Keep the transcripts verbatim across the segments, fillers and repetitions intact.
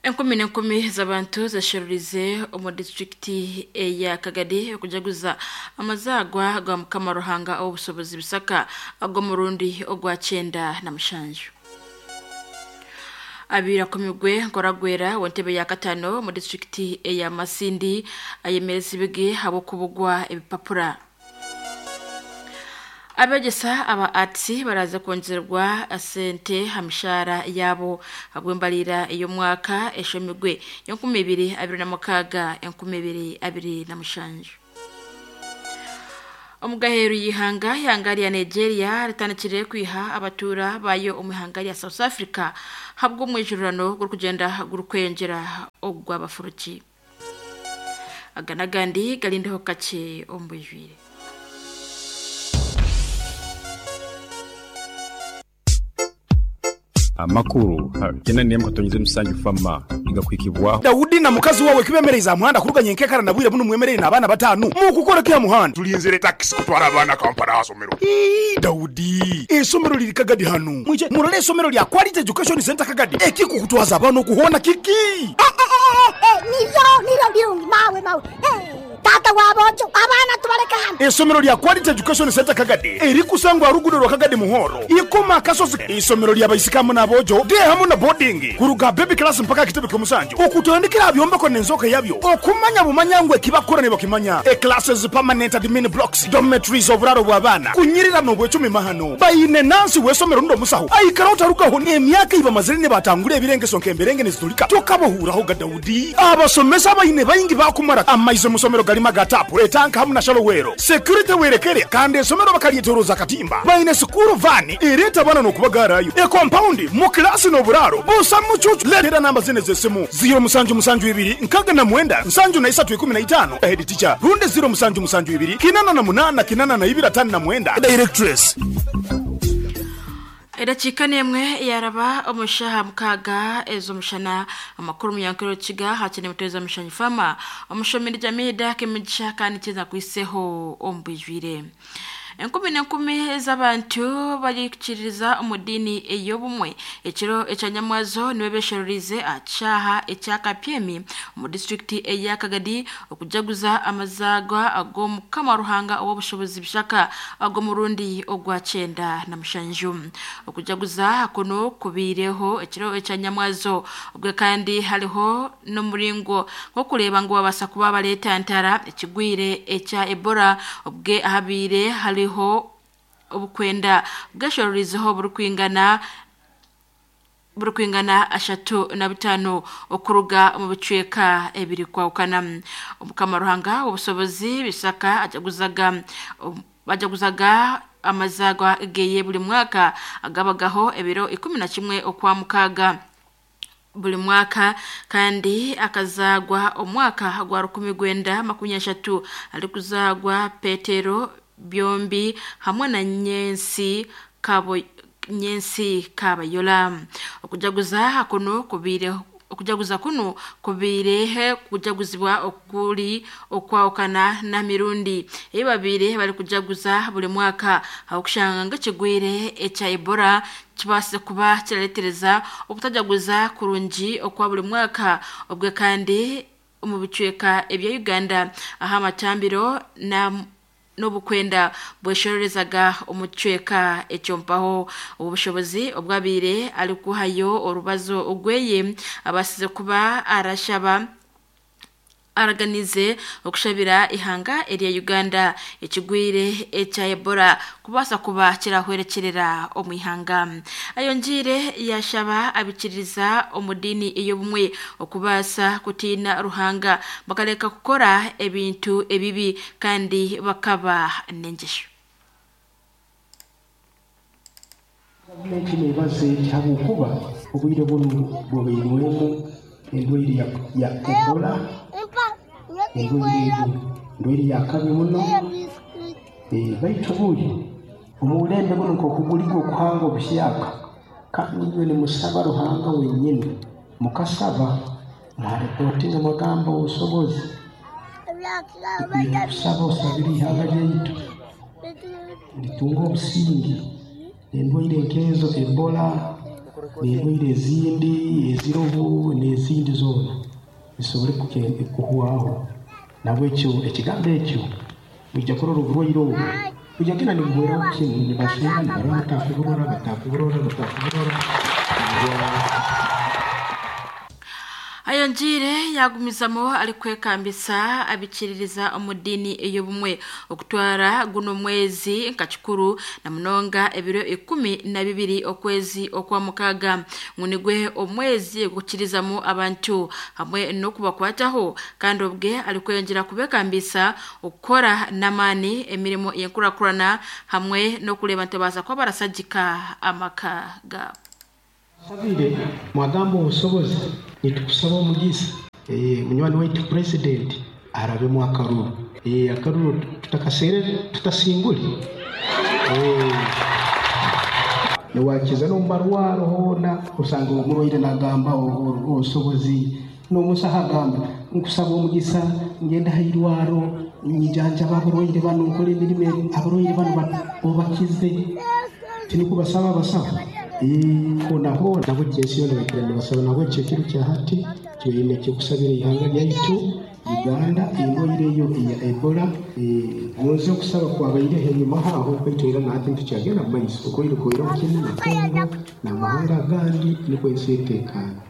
Enkumi n'enkumi z'abantu zesherurize omu disitulikiti eya Kagadi okujaguza amazaagwa ga Mukama Ruhanga ow'obusobozi Bisaka ag'omurundi ogwa kyenda na mushanju. Abiri akomigwe nkoragwera w'entebe ya katano mu disitulikiti eya Masindi ayemereza ibigi habw'okubugwa ebipapura. Abegyesa aba arts baraza kwongerwa sente ha mishahara yabo habw'embalira ey'omwaka eshomigwe y'enkumi ibiri abiri na mukaaga enkumi ibiri abiri na mushanju. Omugaheru y'ihanga ihanga rya Nigeria ritandikire kwiha abatuura bayo omu ihanga rya South Africa habw'omwijurano gurikugyenda gurikweyongyera ogw'abafuruki. Aga n'agandi garindeho kakye omu bwijwire. Amakuru kena niyemu katonyize musanju fama igakwikibwaho Daudi na mukazi wawe kibemereza muhanda kuruganya enkekara na bwire buno mwemerere n'abaana batanu mukukora kya muhanda tulinzire taxi kutwara abaana Kampala asomero. Ii, Daudi esomero liri Kagadi hanu mwije murole esomero lya Quality Education Center Kagadi ekikukutwaza abaana okuhona kiki. Eh, eh, eh, niryo niryo birungi mawe mawe. Eh, tata wabojo abaana tubaleka hano. Esomero lya Quality Education Center Kagadi erikusangwa rugudo rwa Kagadi Muhoro ikoma kasozi. Isomero lya baisikamu n'abojo de hamu na boarding kuruga baby class mpaka kitebe ky'omusanju okutandikira byombeko n'enzoka yabyo okumanya bumanyangwe kibakora ne bakimanya e classes, permanent admin blocks, dormitories, oburaro bw'abaana kunyirira n'obwecumi mahano bayine nansi w'esomero ndo musaho aikara otarugaho n'emyaka ibamazire ne batangura ebirengeso nk'emberenge nezitulika tokabohuraho ga Daudi. Abasomesa bayine bayingi bakumara amaize musomero galima gatapu etanka hamu na shalowero security werekere kandi esomero bakalyetoroza katimba bayine sukuru vani ereta bana n'okubagarayo e compound mu klasi n'oburaro busa mucucu. Letera namba zine z'esimu ziro musanju musanju ibiri nkaga na mwenda nsanju na isatu ikumi na itano head teacher runde ziro musanju musanju ibiri kinana na munana kinana na ibiri atanu na mwenda directress. Edakika nemwe yaraba omushaha mukaga ezo mushana amakuru munyankero kiga hakene muteza mushanyi fama omushomeri Jamida kemigisha kandi kiza kwiseho ombwijwire. Enkumi n'enkumi z'abantu barikukiriza omu dini ey'obumwe ekiro ekyanyamwazo niwe besherurize akyaha ekya Kapyemi omu disitulikiti eya Kagadi okujaguza amazaagwa ag'Omukama Ruhanga ow'obushobozi Bishaka ag'omurundi ogwa kyenda na mushanju. Okujaguza kuno kubiireho ekiro ekyanyamwazo obwe kandi hariho n'omuringo gw'okureeba ngu babaasa kuba bareetantara ekigwire ekya Ebola obwe ahabiire hariho obukwenda bweshororizeho burikwingana burikwingana ashatu na bitano okuruga omu bicweka ebiri kwawukana. Omukama Ruhanga obusobozi Bisaka ajaguzaga bajaguzaga amazagwa geye buli mwaka agabagaho ebiro ikumi na kimwe okwa mukaaga buli mwaka kandi akazagwa omwaka gwa rukumi gwenda makumi ashatu alikuzagwa Petero byombi hamwe na Nyensi kabo Nyensi Kabayola. Okujaguza kuno kubiire okujaguza kuno kubiire kujaguzibwa okuli okwawukana na mirundi eyi babiri bari kujaguza buli mwaka aho kushanga ng'ekigwire ekya Ebola kibaase kuba kiraretereza obutajaguza kurungi okwa buli mwaka obwe kandi omu bicweka ebya Uganda aho amatambiro na n'obukwenda bweshorerezaga omucweka ekyompaho obushobozi obwabire arikuhayo orubazo ogweye abasize kuba arashaba araganize okushabira ihanga erya Uganda ekigwire ekya Ebola kubaasa kuba kirahwerekerera omu ihanga. Ayongiire yashaba abikiriza omu dini ey'obumwe okubaasa kutiina Ruhanga bakareka kukora ebintu ebibi kandi bakaba n'engesho. Gavumenti neebaza eti habwokuba obwire bunu bubairwemu endwaire ya, ya Ebola, endwaire ego ndwaire ya kabi muno. Eh, baitu buli omubulembe buno nk'okuguliga okuhanga obuhyaka kandi inywe nimusaba Ruhanga wenyini mukasaba mwarepotinga mwagamba obusobozi kusaba osabire ihanga lyaitu litunga obusingi endwaire nkezo Ebola N'endwaire ezindi eziroho n'ezindi zoona zisobole kuhwaho. Nabwekyo ekigambo ekyo mwija kurora oburwaire obu bujya genda nibuhweraho kimwe, nibashunga nibarora batakuburora batakuburora batakuburora. Ayongiire yagumizamo ari kwekambisa abikiririza omu ddiini ey'obumwe okutwara guno mwezi nka kikuru na munonga ebiro ikumi na bibiri okwezi okwa mukaaga ngu nigwe omwezi ogukirizamu abantu hamwe n'okubakwataho, kandi obwe ari kweyongyera kubekambisa okukora n'amaani emirimo y'enkurakurana hamwe n'okureeba nti baza kuba barasagika amaka gaabo. Sabire mwagamba obusobozi nitukusaba omugisa eh munywani waitu president arabemu akaruru eh akaruru tutakaserere tutasingule eh niwakiza no marwaro hona usanga omurwaire nagamba obusobozi n'omusaha agamba nkusaba omugisa ngenda hairwaro nyijanjaba abarwaire bano nkora emirimo abarwaire bano obakize tinikubasaba basaba konaho nabo ensi yoona bakira nibasaba. Nabwo ekyo ekiro kya hati twine kyokusabira ihanga lyaitu Uganda endwaire eyo eya Ebola. Gonze okusaba kwabaireho enyuma haho baitu era nahati nitukyagenda mu maiso okwire kwiraho kimwe na Kongo n'amahanga agandi nikwo ensi eteekaana.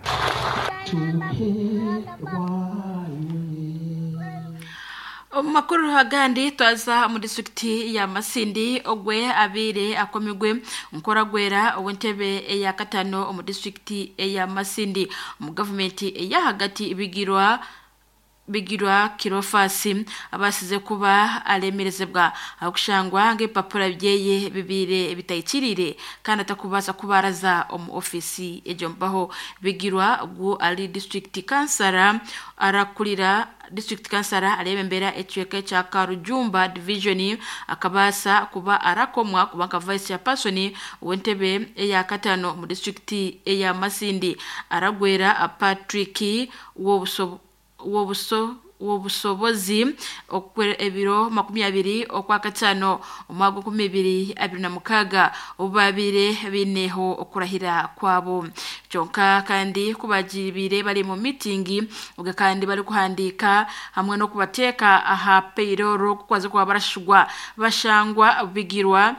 Omu makuru agandi twaza mu disitulikiti ya Masindi ogwe abiire akomigwe nkoragwera ow'entebe eya katano omu disitulikiti eya Masindi omu gavumenti eya hagati bigirwa bigirwa Kirofasi abasize kuba alemerezebwa akushangwa ng'epapura byeye bibire bitayikirire kandi atakubaasa kubaraza omu ofisi egyo mpaho. Bigirwa gu ali district kansara arakurira district kansara arebembera ekicweka ekya Karujumba division akabaasa kuba arakomwa kuba nka vice chairperson w'entebe eya katano mu district eya Masindi aragwera Patrick wobuso wobuso wobusobozi ebiro makumi abiri okwa katano omwaka nkumi ibiri abiri na mukaaga obubabire bineho okurahira kwabo. Kyonka kandi kubagibire bari mu mitingi ubwo kandi bari kuhandika hamwe no kubateeka aha payroll kukwaza kuba barashugwa bashangwa bigirwa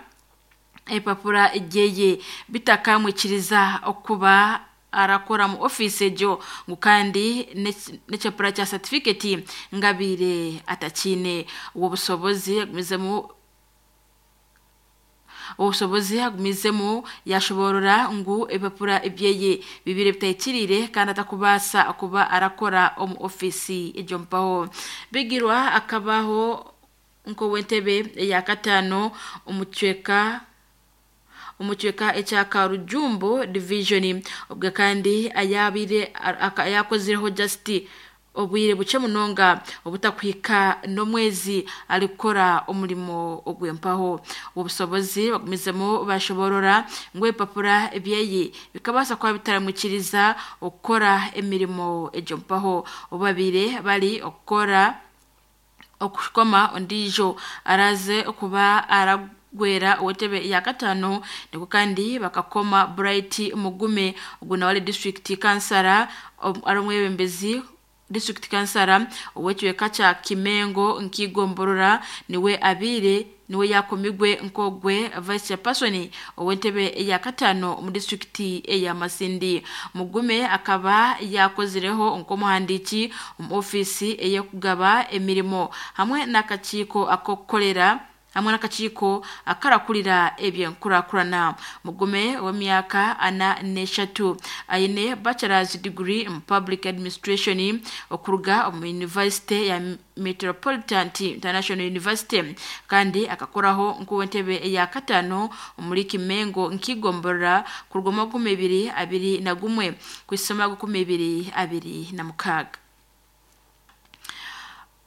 epapura gyeye bitakamwikiriza okuba arakora mu office egyo ngu kandi n'ekyapura kya certificate ngabire atakine. Obwo busobozi agumizemu obusobozi agumizemu yashoborora ngu ebipapura ebyeye bibire bitayikirire kandi atakubaasa kuba arakora omu office egyo mpaho. Bigirwa akabaho nk'ow'entebe eya katano omu kicweka omu kicweka ekya Karujumbo division obwe kandi ayabire ayakozireho just obwire buke munonga obutakuhika n'omwezi arikukora omurimo ogw'empaho. Obusobozi bagumizemu bashoborora ngu ebipapura ebyeye bikabaasa kuba bitaramwikiriza okukora emirimo egyo mpaho. Obabire bari okukora okukoma ondiijo araze okuba ara gwera ow'entebe ya katano niko kandi bakakoma Bright Mugume ogu nawe ari district kansara ari omwebembezi district kansara ow'ekicweka kya Kimengo nkigomborora niwe abiire niwe yakomigwe nkogwe vice chairperson ow'entebe ya katano mu district eya Masindi. Mugume akaba yakozireho nk'omuhandiiki omu ofiisi ey'okugaba emirimo hamwe n'akakiiko ak'okukorera hamwe n'akakiiko akarakurira ebyenkurakurana. Mugume w'emyaka ana n'eshatu aine bachelor's degree in public administration okuruga omu university ya Metropolitan International University kandi akakoraho nk'ow'entebe eya katano omuri Kimengo nkigomborora kuruga omu makumi ibiri abiri na gumwe kw'isoma makumi ibiri abiri na mukaaga.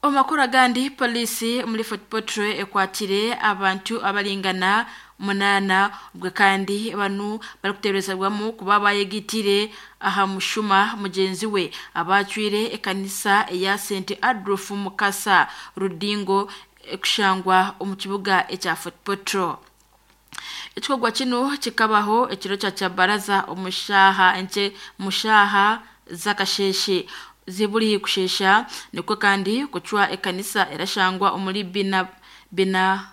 Omu makuru agandi polisi muri Fort Portal ekwatire abantu abaringana munana ubwo kandi banu barikuteberezebwamu kuba bayegitire aha mushuma mugenzi we abacwire ekanisa eya Saint Adolf Mukasa Rudingo ekushangwa omu kibuga ekya Fort Portal. Ekikorwa kino kikabaho ekiro kya kyabaraza omushaha enche mushaha zakasheshe ziburi kushesha nikwo kandi kucwa ekanisa erashangwa omuri bina bina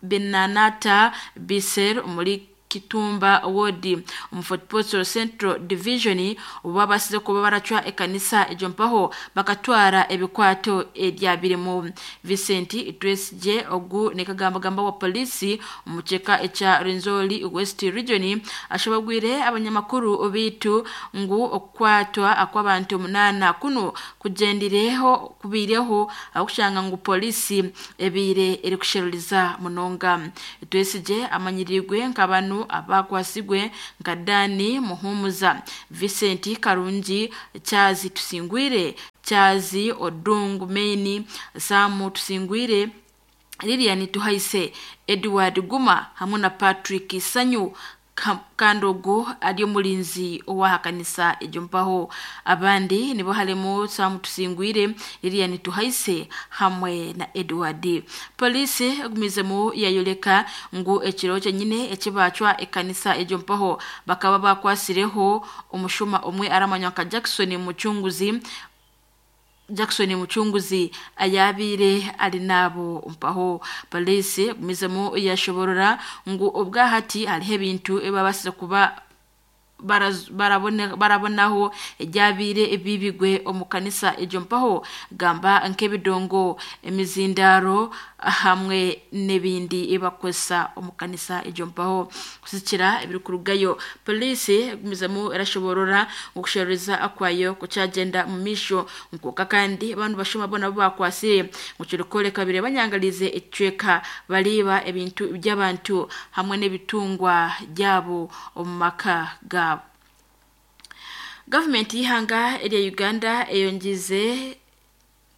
binanata biser omuri Kitumba Ward omu Fort Portal Central Division obu kuba baracwa ekanisa egyo mpaho bakatwara ebikwato ebyabirimu. Vincent Itwesije ogu nekagambagamba wa polisi omuceka ekya Rwenzori West Region ashabagwire abanyamakuru bitu ngu okukwatwa akw'abantu munana kuno kugendireho kubireho akushanga ngu polisi ebire eri kusheruriza munonga. Itwesije amanyirirwe nk'abantu abakwasigwe nka Dani Muhumuza, Vincent Karungi, Chazi Tusingwire, Chazi Odungu Maini, Samu Tusingwire, Lilian Tuhaise, Edward Guma hamwe na Patrick Sanyu Kandogo ari omulinzi owahakanisa egyo mpaho. Abandi nibo harimo Samu Tusingwire, Lilian Tuhaise hamwe na Edward. Polisi egumizemu yayoleka ngu ekiro kyenyine ekibacwa ekanisa egyo mpaho bakaba bakwasireho omushuma omwe aramanywa nka Jackson Muchunguzi Jackson Muchunguzi ayabire ari nabo mpaho. Polisi gumizemu yashoborora ngu obwahati hariho ebintu ebabasize kuba barabone barabonaho ejabire ebibigwe omukanisa egyo mpaho gamba nk'ebidongo, emizindaro hamwe n'ebindi ebakozesa omukanisa egyo mpaho. Kusikira ebirikurugayo polisi egumizemu erashoborora okushereza akwayo kukyagenda mu misho nkoka kandi abantu bashuma bona bo bakwasire mukirikoleka bire banyangalize ecweka baliba ebintu by'abantu hamwe n'ebitungwa byabo omu maka ga Gavumenti y'ihanga erya Uganda eyongize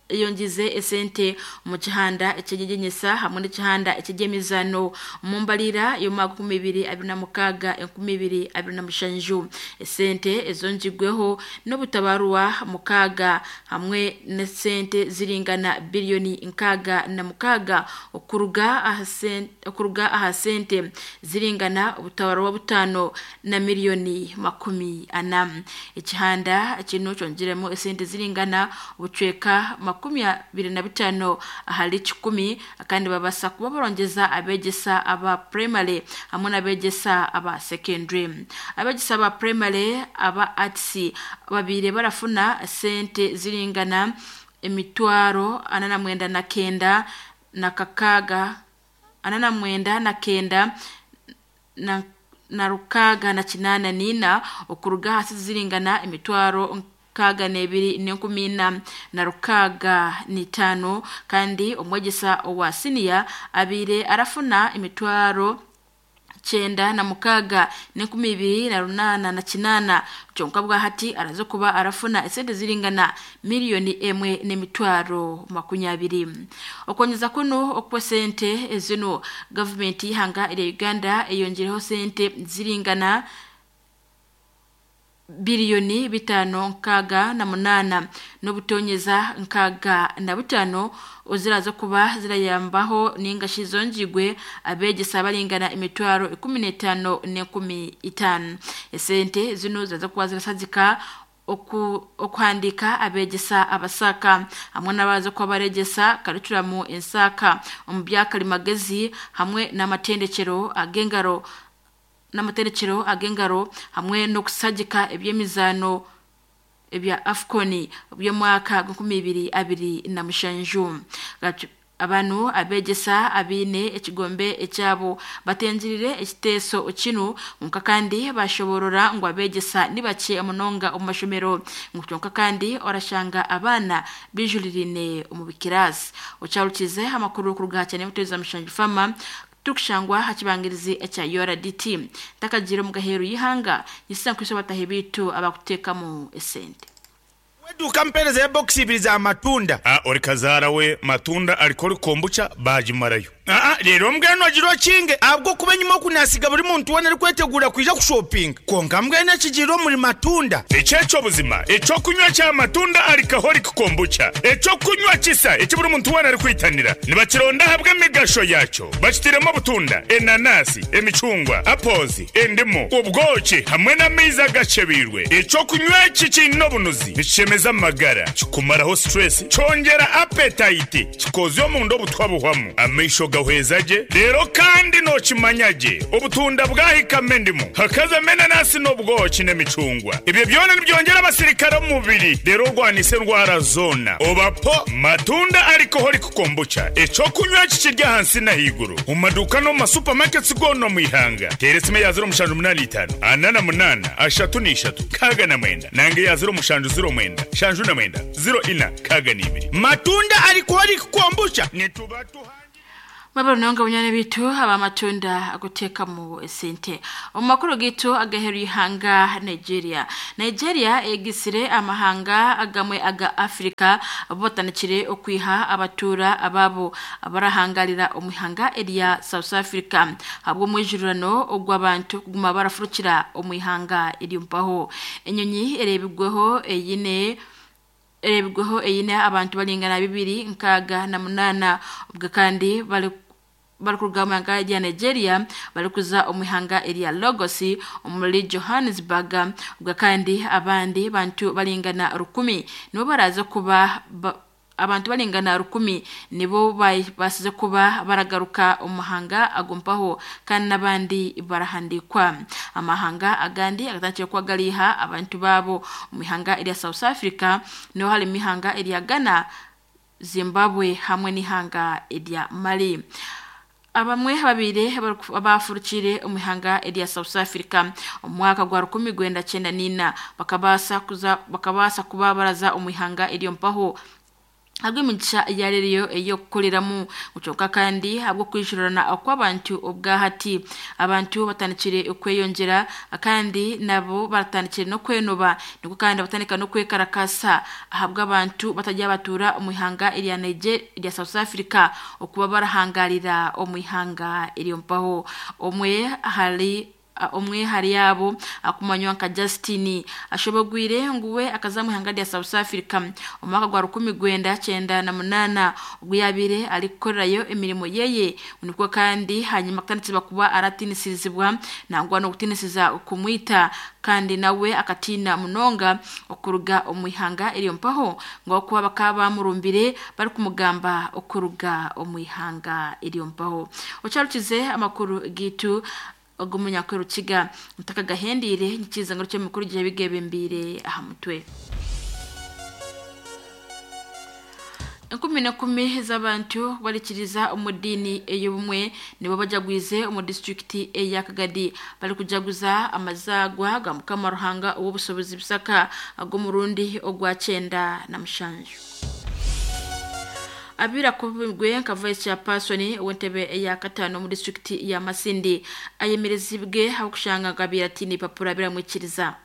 eyongize esente mu kihanda ekyegenyesa hamwe n'ekihanda eky'emizano mu mbalira y'omwaka nkumi ibiri abiri na mukaaga enkumi ibiri abiri na mushanju. Esente ezongigweho n'obutabarwa mukaaga hamwe n'esente ziringana biliyoni nkaaga na mukaaga okuruga aha sente okuruga aha sente ziringana obutabarwa butano na miliyoni makumi ana. Ekihanda kino kyongeremu esente ziringana obucweka makumi abiri na bitano ahari kikumi kandi babasa kuba barongeza abegesa aba primary hamwe n'abegesa aba secondary. Abegesa aba primary aba arts babire barafuna sente ziringana emitwaro ana na mwenda na kenda na kakaga ana na mwenda na kenda na, na rukaga na kinana nina okuruga hasi ziringana emitwaro kaga nebiri n'enkumi ina na rukaga n'itaano kandi omwegesa owa siniya abire arafuna emitwaro kyenda na mukaga n'enkumi ibiri na runana na kinana kyonka bwahati araza kuba arafuna esente ziringana miliyoni emwe n'emitwaro makunyabiri. Okonyeza kuno okwa sente ezino gavumenti y'ihanga erya Uganda eyongereho sente ziringana biliyoni bitano nkaga na munana n'obutonyeza nkaga na butano oziraza kuba zirayambaho ninga shizongigwe abegesa balingana emitwaro ikumi n'etaano n'enkumi itaano. Esente zino ziraza kuba zirasazika oku okuhandika abegesa abasaka hamwe n'abaza kuba baregesa karicuramu ensaka omu byakalimagezi hamwe n'amatendekero ag'engaro n'amaterekero ag'engaro hamwe n'okusagika eby'emizaano ebya AFCON by'omwaka gw'enkumi ibiri abiri na mushanju. Abantu abegesa abine ekigombe ekyabo batengirire ekiteeso kinu nka kandi bashoborora ngu abegesa nibakye munonga omu mashomero ngu kyonka kandi orashanga abaana bijulirine omu bikirasi. Okyarukize amakuru kuruga cyane muteza mushanju fama tukushangwa hakibangirizi ekya U R D T takagira mu gaheru y'ihanga yisankwise batahe bitu abakutekamu esente. Weduka mpereza ya box ibiri za matunda. Ah, ori kazara we matunda alikoli kombucha bajimarayo. Aa rero mbwenu ogira okinge ahabw'okuba enyuma okunasiga buri muntu weena arikwetegura kwija kushopinga konka mbwenu ekigiire omuri matunda. Ekyekyo buzima ekyokunywa kya matunda alcoholic kombucha, ekyokunywa kisa eki buri muntu weena arikwitanira, nibakironda ahabw'emigasho yakyo. Bakitiremu obutunda, enanasi, emicungwa, apples, endimu, obwoki hamwe n'amaizi agacebiirwe. Ekyokunywa eki kiine obunuzi, nikishemeza amagara, kikumaraho stress, kyongera appetite, kikozya omunda obutwa buhwamu, amaisho gahweza gye. Rero kandi nokimanya gye, obutunda bwahikamo endimu, hakazamo enanasi n'obwoki n'emicungwa, ebyo byona nibyongera abasirikare omu mubiri, rero orwanisa endwara zoona. Obapo matunda alcoholic kombucha, ekyokunywa kikirya ahansi n'ahaiguru mu maduuka no mu masupamaketi goona omu ihanga. Teera esimu ya ziro mushanju munaana itaano ana na munaana ashatu n'ishatu kaaga na mwenda, nange ya ziro mushanju ziro mwenda shanju na mwenda ziro ina kaaga n'ibiri. Matunda alcoholic kombucha nituba tuha Mwabarunonga bunyane bitu abamatunda aguteka mu esente. Omu gitu agaheru ihanga Nigeria. Nigeria egisire amahanga agamwe aga Afrika botanikire okwiha abatura ababo abarahangalira omwihanga erya South Africa. Habwo mwijurano ogw'abantu kuguma barafurukira omwihanga eryompaho. Enyonyi erebigweho eyine erebigweho eyine abantu balingana bibiri nkaga na munana, ubwo kandi bali bari mu ihanga rya Nigeria barikuza omwihanga erya Lagos omuri Johannesburg, ubwo kandi abandi bantu balingana rukumi nibo baraza kuba ba, abantu balingana rukumi nibo basize kuba baragaruka umuhanga agumpaho, kandi n'abandi barahandikwa. Amahanga agandi agatangiye kwagaliha abantu babo mu mihanga erya South Africa, niho hari imihanga erya Ghana, Zimbabwe hamwe n'ihanga erya Mali. Abamwe babiri abafurukire omwihanga erya South Africa omwaka gwa rukumi gwenda kyenda nina bakabasa kuza bakabasa kuba baraza omwihanga eryo mpaho habw'emigisha yareriyo eyokukoreramu mucoka, kandi habwo kwijurana okw'abantu obwahati abantu batandikire okweyongera, kandi nabo batandikire no kwenoba, niko kandi batandika no kwekarakasa ahabw'abantu batajya batura omwihanga erya Nigeria erya South Africa okuba barahangarira omwihanga eryo mpaho. Omwe hari omwe hari yabo akumanywa nka Justin ashobogwire nguwe akazamu ihanga rya South Africa omwaka gwa rukumi gwenda cyenda na munana ubwo yabire arikorayo emirimo yeye, niko kandi hanyuma katanditse kuba aratinisizibwa nangwa no gutinisiza kumwita, kandi nawe akatina munonga okuruga omwihanga eryo mpaho ngo kuba bakaba bamurumbire bari kumugamba okuruga omwihanga eryo mpaho. Ocharukize amakuru gitu ogumunyakuru kiga mutaka gahendire nkiza ngo cyo mukuru gihe bigebembire aha mutwe. Enkumi na kumi z'abantu barikiriza omudini ey'obumwe nibo bajagwize omu disitulikiti eya Kagadi, bari kujaguza amazagwa ga Mukama Ruhanga ow'obusobozi bisaka ag'omurundi ogwa kyenda na mushanju. Abira kubigwe nka vice chairperson w'entebe eya katano mu district ya Masindi ayemerezibwe aho gabira tini papura biramwikiriza.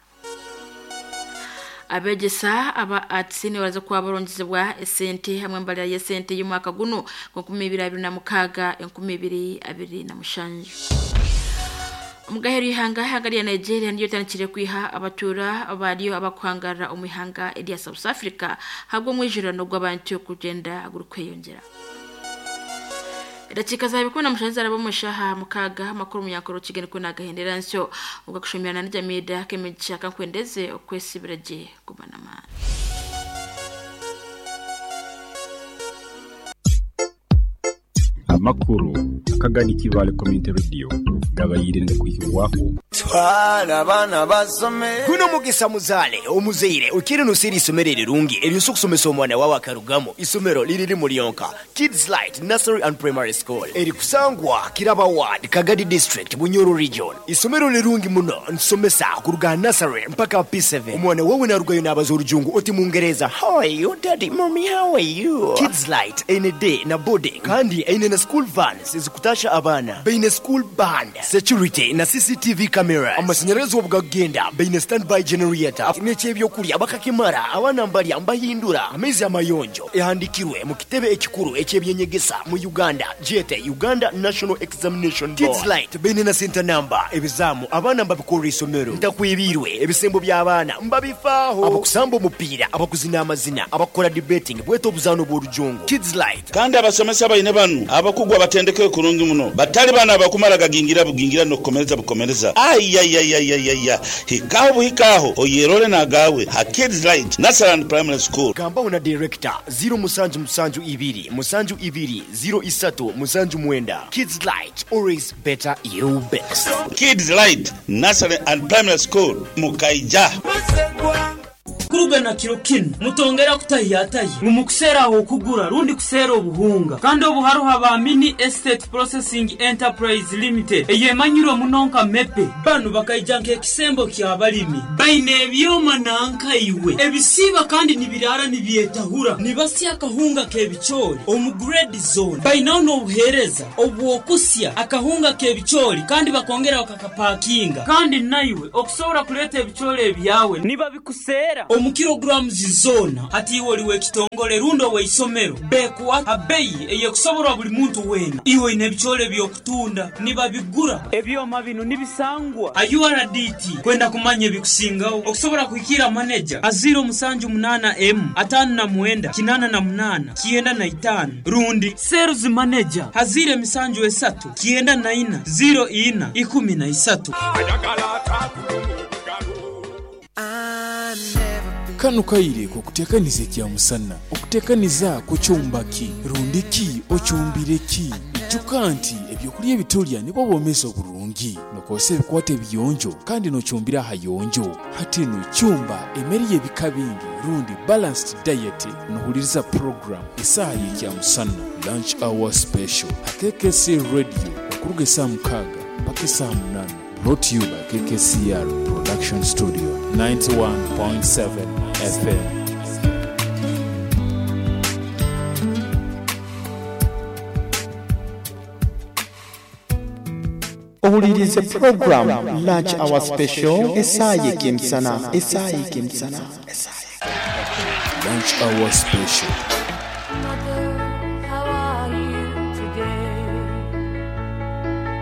Abegesa aba arts ni baraza kuba barongezebwa esente hamwe mbalira y'esente y'umwaka guno enkumi ibiri abiri na mukaga enkumi ibiri abiri na mushanju. Omugaheri ihanga hagari ya Nigeria ndiyo tandikire kwiha abatura abariyo abakwangara omwihanga erya South Africa habwo mwijurano gw'abantu kugenda gurikweyongera. Dakika za bikuna mushanza arabo mushaha mukaga amakuru munyakoro kigeni ko nagahendera nsyo ubwo kushomerana n'Jamida kemegisha kankwendeze okwesibiraje kubanama. Amakuru akagani kibale community radio gabayirinde kuhiwaho twala abana basome. Guno mugisa muzale omuzeire ukiri nusiri isomero rirungi eryo okusomesa omwana wawe akarugamo. Isomero liriri mulionka Kids Light Nursery and Primary School eri kusangwa Kiraba Ward, Kagadi District, Bunyoro Region. Isomero lirungi muno nsomesa kuruga nursery mpaka P seven. Omwana wawe narugayo n'abaza orujungu oti mungereza, how are you daddy, mommy, how are you. Kids Light ene day na boarding kandi ene na school vans zikutasha abana, baine school band, security na C C T V cameras. cameras. Amasanyarazi obugagenda baine standby generator. N'ekyebyokulya bakakimara abaana mbalya mbahindura amaizi amayonjo ehandikirwe mu kitebe ekikuru ekyebyenyegesa mu Uganda jete Uganda National Examination Board. Kids Light baine na center number ebizamu abaana mbabikora isomero ntakwibirwe ebisembo by'abaana mbabifaaho abakusamba omupiira abakuzina amazina abakora debating bweta obuzano bw'orujungu. Kids Light kandi abasomesa baine banu abakugwa batendeke kurungi muno batali bana abakumara gagingira bugingira nokukomereza bukomereza ayayayayaya hikaho buhikaho oyerole nagawe ha Kids Light Nursery and Primary School. Gambaho na director zero musanju musanju ibiri musanju ibiri zero isatu musanju mwenda. Kids Light, always better you best. Kids Light Nursery and Primary School Mukaija. Kuruga na kiro kinu mutongera kutahiyatayi mumukuseraho okugura rundi kusera obuhunga kandi obuharuha ba Mini Estate Processing Enterprise Limited eyemanyirwe munonka mepe banu bakaija nk'ekisembo ky'abalimi baine ebyoma nankaiwe ebisiba kandi nibirara nibyetahura nibasya akahunga k'ebicoori omu grade zone bainaho n'obuheereza obwokusya akahunga k'ebicoori kandi bakongera bakakapakinga kandi naiwe okusobola kuleeta ebicoori ebyawe niba bikusera omu kilograms zona hati iwe oliwe ekitongole rundo weisomero bekuwa abeyi eyekusoborwa buli muntu wena iwe ine ebicoori byokutunda nibabigura ebyoma bino nibisangwa U R D T kwenda kumanya ebikusingaho okusobola kuhikira manager aziro musanju munana m atano na mwenda kinana na munana kienda na itano rundi sales manager hazire emisanju esatu kienda na ina zero ina ikumi na isatu. Kano kaire kukutekaniza ekya musana okutekaniza kukyumbaki rundiki okyumbireki ijuka nti ebyokulya ebitulya nibwo bwomeza oburungi nokozesa ebikwata ebiyonjo kandi nokyumbira ahayonjo hati nokyumba emmere y'ebika bingi rundi balanced diet nohuliriza program esaaha y'ekya musana lunch hour special K K C radio okuruga esaaha mukaaga mpaka esaaha munaana. Brought to you by K K C R Production Studio, ninety-one point seven F M. Ohulirize program Lunch Hour Special esaaha y'emisana esaaha y'emisana Lunch Hour Special.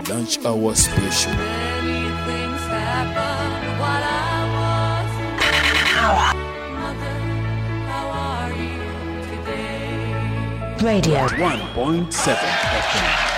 Lunch Hour Special. Many things happened while I was away. Mother, how are you today? Radio one point seven F M.